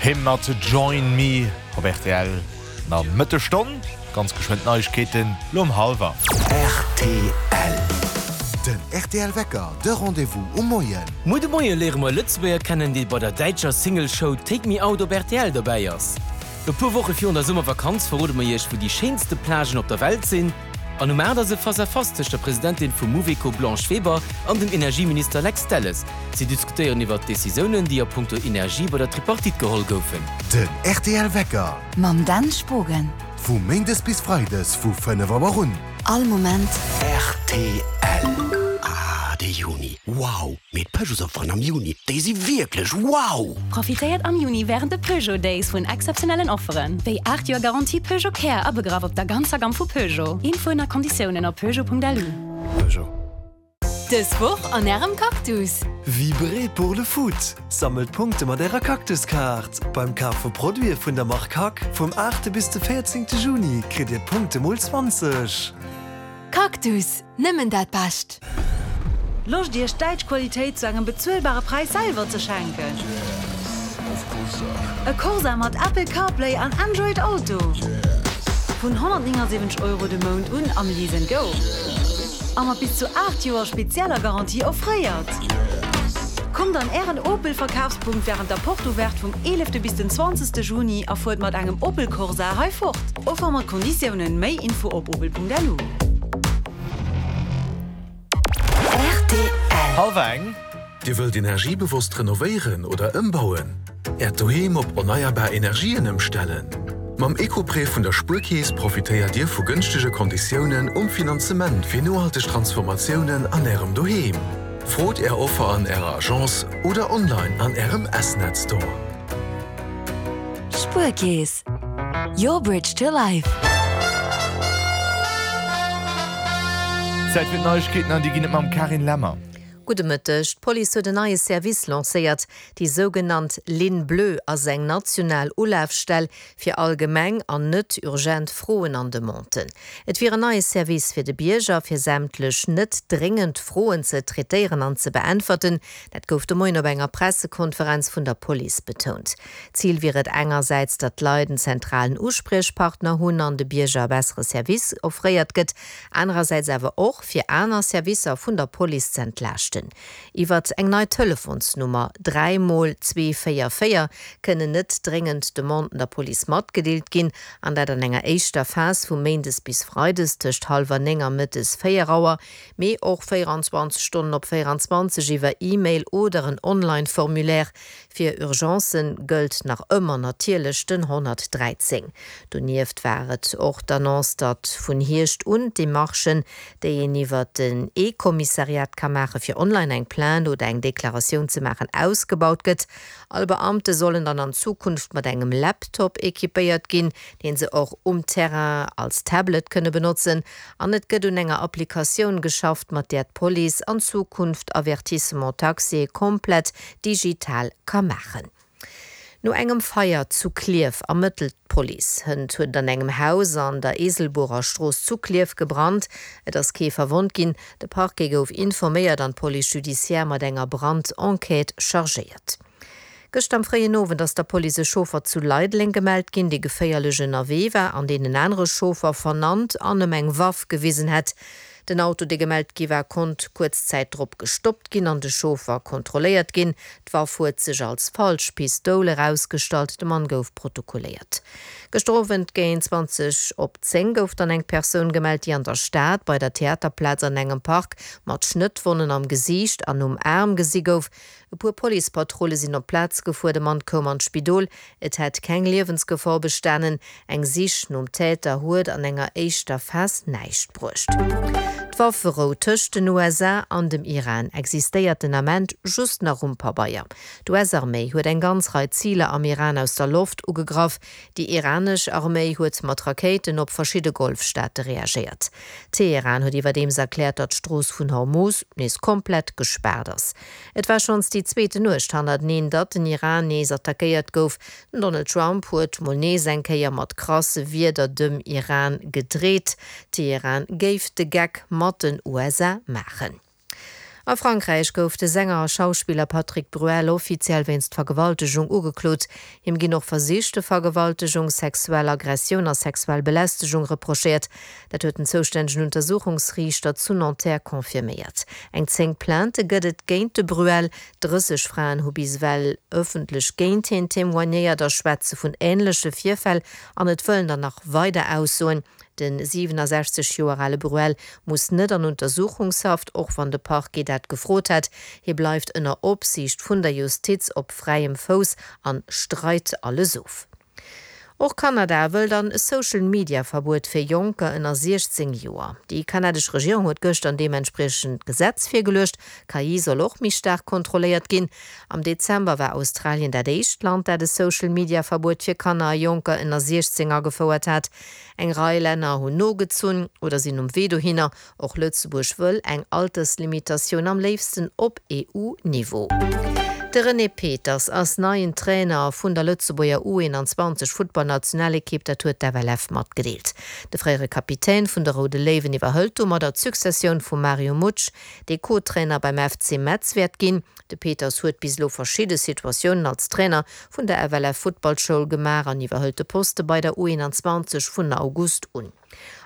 Him mat Join Me op rtl. An Mëttesstonn ganz geschwënn d'Neiegkeeten, lo um hallwer. Rtl. Den rtl Wecker, de Rendez-vous um Moien. Muer de Moie léiere mer e Lëtzebuerger kennen, dee bei der däitscher Single-Show Take Me Out op rtl dobäi ass. E puer Woche virun der Summervakanz verrode mer iech, wou déi schéinste Plagen op der Welt sinn. An um 8 ass e Face-à-Face tëscht der Presidentin vum Mouveco Blanche Weber an dem Energieminister Lex Delles. Si diskutéieren iwwert d'Decisiounen, déi a punkto Energie bei der Tripartite geholl goufen. Den rtl Wecker. Mam Dan Spogen. Vu Méindes bis Freides vu 5 Auer un. All Moment. Rtl. Ah, de Juni, wow! Mee d'Peugeotsofferen am Juni, déi si wierklech wow! Profitéiert am Juni wärend de Peugeot Days vun exzeptionellen Offeren, wéi 8 Joer Garantie Peugeot Care abegraff op der ganzer Gamm vu Peugeot. Infoen a Konditiounen op peugeot.lu. Peugeot. Dës Woch an Ärem Cactus! Vibrez pour le foot! Sammelt Punkte mat Ärer Cactus-Kaart! Beim Kaf vu Produite vun der Mark Hack vum 8 bis de 14 Juni kritt Dir d'Punkte mol 20. Cactus, nëmmen dat Bescht! Loscht Iech däitsch Qualitéit zu engem bezuelbare Präis selwer ze schenken? E Corsa mat Apple CarPlay an Android Auto? Vun 179 Euro de Mount un am Lease and Go a mat bis zu 8 Joer spezieller Garantie offréiert. Kommt an Ären Opel Verkafspunkt wärend der Porte Ouverte vum 11 bis den 20 Juni a fuert mat engem Opel Corsa hei fort. Offer mat Konditiounen. Méi Info op opel.lu. Rtl. Hallwer eng. Dir wëllt energiebewosst renovéieren oder ëmbauen? Äert Doheem op erneierbar Energien ëmstellen? Mam Eco-Prêt vun der Spuerkeess profitéiert Dir vu gënschtege Konditiounen um Finanzement fir nohalteg Transformatiounen an Ärem Doheem. Frot Är Offer an Ärer Agence oder online an Ärem S-Net Store. Spuerkeess, your bridge to life. Zäit fir d'Neiegkeeten an déi ginn et mam Carine Lemmer. Gudde Mëtteg. D'Police huet en neie Service lancéiert. Déi sougenannt Ligne bleue ass eng national Ulafstell fir allgemeng an net urgent Froen an Demanden. Et wier en neie Service fir de Bierger, fir sämtlech net dréngend Froen ze traitéieren an ze beäntwerten. Dat gouf de Moien op enger Pressekonferenz vun der Police betount. Zil wier et engersäits, datt d'Leit en zentralen Uspriechpartner hunn an de Bierger e bessere Service offréiert gëtt, anerersäits awer och, fir aner Servicer vun der Police z'entlaaschten. Iwwert eng nei Telefonsnummer, 3 mol 2 4 4, kënnen net dréngend Demanden der Police matgedeelt ginn, an dat an enger éischter Phas vu méindes bis freides tëscht hallwer 9 a mëttes 4 Auer, mee och 24 Stonnen op 24 iwwer E-Mail oder en Online-Formulaire. Fir Urgencen gëllt nach ëmmer natierlech den 113. Donieft war et och d'Annonce, datt vun Hierscht un d'Demarchen, déi een iwwer den E-Kommissariat ka maache fir online eng Plainte oder eng Deklaratioun ze maachen, ausgebaut gëtt. All Beamte sollen dann an Zukunft mat engem Laptop equipéiert ginn, deen se och um Terrain als Tablet kënne benotzen. An et gëtt un enger Applikatioun geschafft, mat där d'Police an Zukunft Avertissement taxé komplett digital ka maachen. No engem Feier zu Klierf ermëttelt d'Police. Hënt huet et an engem Haus an der Eeselbuerer Strooss zu Klierf gebrannt. Et ass kee verwonnt ginn. De Parquet gouf informéiert an d'Police judiciaire mat enger Brand-Enquête chargéiert. Gëschter am fréien Owend ass der Police e Chauffer zu Leideleng gemellt ginn, dee geféierlech ënnerwee war an deen en anere Chauffer vernannt an ëm eng Waff gewisen hätt. Den Auto, dee gemellt gi war, konnt kuerz Zäit drop gestoppt ginn an de Chauffer kontrolléiert ginn. D'Waff huet sech als falsch Pistoul erausgestallt, de Mann gouf protokolléiert. Gëschter Owend géint 20 op 10 gouf dann eng Persoun gemellt, déi an der Stad bei der Theaterplaz an engem Park mat Schnëttwonnen am Gesiicht an um Aarm gesi gouf. E puer Policepatrulle sinn op d'Plaz gefuer, de Mann koum an d'Spidol. Et hätt keng Liewensgefor bestanen. Eng Sich nom Täter huet an enger éischter Phas näischt bruecht. D'Wafferou tëscht den USA an dem Iran existéiert den Ament just nach um Pabeier. D'US-Arméi huet eng ganz Rei Ziler am Iran aus der Loft ugegraff. Déi iranesch Arméi huet mat Rakéiten op verschidde Golfstaate reagéiert. Teheran huet iwwerdeems erkläert, datt d'Strooss vun Hormuz nees komplett gespaart ass. Et war schonns déi zweete Nuecht hannerteneen, datt den Iran nees attackéiert gouf. Den Donald Trump huet mol nees eng Kéier mat krasse Wierder dem Iran gedreet. Teheran géif de Geck mat den USA maachen. A Frankräich gouf de Sänger a Schauspiller Patrick Bruel offiziell wéinst Vergewaltegung ugeklot. Him ginn och versichte Vergewaltegung, sexuell Aggressioun a sexuell Belästegung reprochéiert. Dat huet den zoustännegen Untersuchungsriichter zu Nanterre confirméiert. Eng 10 Plainte gëtt et géint de Bruel. 30 Fraen hu bis ewell ëffentlech géint hien témoignéiert a schwätze vun änleche Virfäll an et wëllen der nach weider aussoen. De 67 Joer ale Bruel muss net an Untersuchungshaft, och wann de Parquet dat gefrot hätt. Hie bleift ënner Opsiicht vun der Justiz op fräiem Fouss an streit alles of. Och Kanada wëllt an Social-Media-Verbuet fir Jonker ënner 16 Joer. Déi kanadesch Regierung huet gëschter en deementspriechend Gesetz virgeluecht. KI soll och méi staark kontrolléiert ginn. Am Dezember war Australien dat éischt Land, dat e Social-Media-Verbuet fir Kanner a Jonker ënner 16 agefouert hat. Eng Rei Länner hunn nogezunn oder sinn um Wee dohinner. Och Lëtzebuerg wëll eng Alterslimitatioun, am léifsten op EU-Niveau. De René Peters ass neien Trainer vun der Lëtzebuerger U21 Futtballnationalekipp, dat huet d'FLF matgedeelt. De fréiere Kapitän vun de Roude Léiwen iwwerhëlt domadder d'Successioun vum Mario Mutsch, dee Co-Trainer beim FC Metz wäert ginn. De Peters huet bis elo verschidde Situatiounen als Trainer vun der FLF Futtballschoul gemaach an iwwerhëlt de Poste bei der U21 vun August un.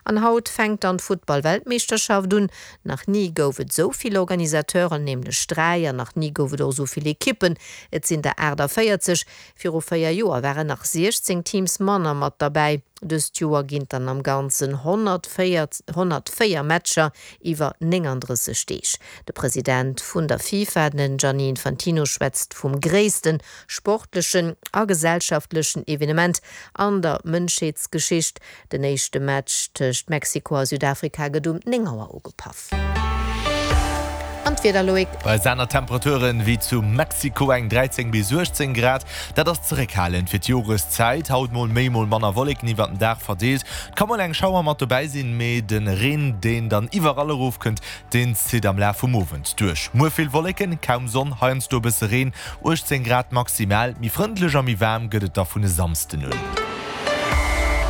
An haut fänkt dann d'Futtball-Weltmeeschterschaft un. Nach ni gouf et esou vill Organisateuren, nämlech 3, an nach ni gouf et och esou vill Ekippen, et sinn der 48. Viru 4 Joer waren nach 16 Teams manner mat derbäi. Dëst Joer ginn et dann am Ganzen 104 104 Matcher iwwer 39 Deeg. De President vun der FIFA, den Gianni Infantino, schwätzt vum gréissten sportlechen a gesellschaftlechen Evenement an der Mënschheetsgeschicht. Den éischte Match tëscht Mexiko a Südafrika gëtt um 9 Auer ugepaff. An d'Wieder, Loïc? Bei eis aner Temperaturen wéi zu Mexiko eng 13 bis 18 Grad. Dat ass zeréckhalend fir d'Joreszäit. Haut mol méi, mol manner Wolleken iwwert den Dag verdeelt. Et ka mol eng Schauer mat dobäi sinn, mee de Reen, deen dann iwwerall erofkënnt, Deen zitt am Laf vum Owend duerch. Muer vill Wolleken, kaum Sonn, heiansdo e bësse Reen, 18 Grad maximal. Méi frëndlech a méi waarm gëtt et da vun e Samsden un.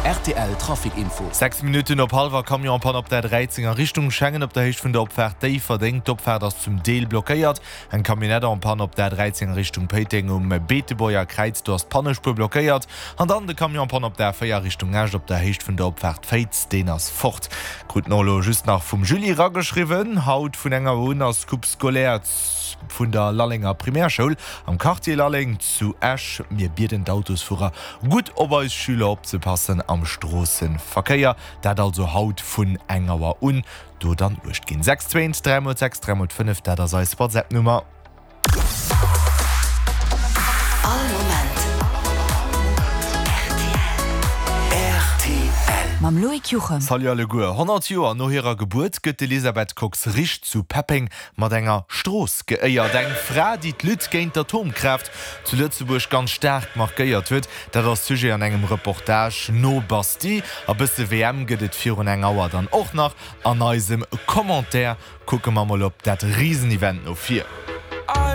Rtl Trafic Info. 6 Minutten op hallwer, Camion en panne op der 13 a Richtung Schengen op der Héicht vun der Opfaart Déifferdeng. D'Opfaart ass zum Deel blockéiert. Eng Camionnette en panne op der 13 a Richtung Péiteng um Beetebuerger Kräiz, do ass d'Pannespuer blockéiert. An dann de Camion en panne op der A4 Richtung Esch op der Héicht vun der Opfaart Féiz, deen ass fort. Krut mer elo just nach vum Julie rageschriwwen. Haut vun enger Auer un ass Coupe scolaire vun der Lallenger Primärschoul am Quartier Lalleng zu Esch. Mir bieden d'Autosfuerer gutt op eis Schüler opzepassen am Stroosseverkéier. Dat also haut vun eng Auer un. Do dann uecht ginn. 6 2 3 mol 6 3 mol 5, dat ass eis WhatsApp-Nummer. All Moment rtl. Mam Loïc Juchem. Salut alleguer. 100 Joer no hirer Gebuert gëtt d'Elisabeth Kox-Richt zu Peppeng mat enger Strooss geéiert. Eng Fra, déi d'Lutte géint d'Atomkraaft zu Lëtzebuerg ganz staark markéiert huet. Dat ass Sujet an engem Reportage no Bastille. A bësse WM gëtt et virun eng Auer dann och nach. An eisem Commentaire kucke mer mol op dat Risenevent no vir.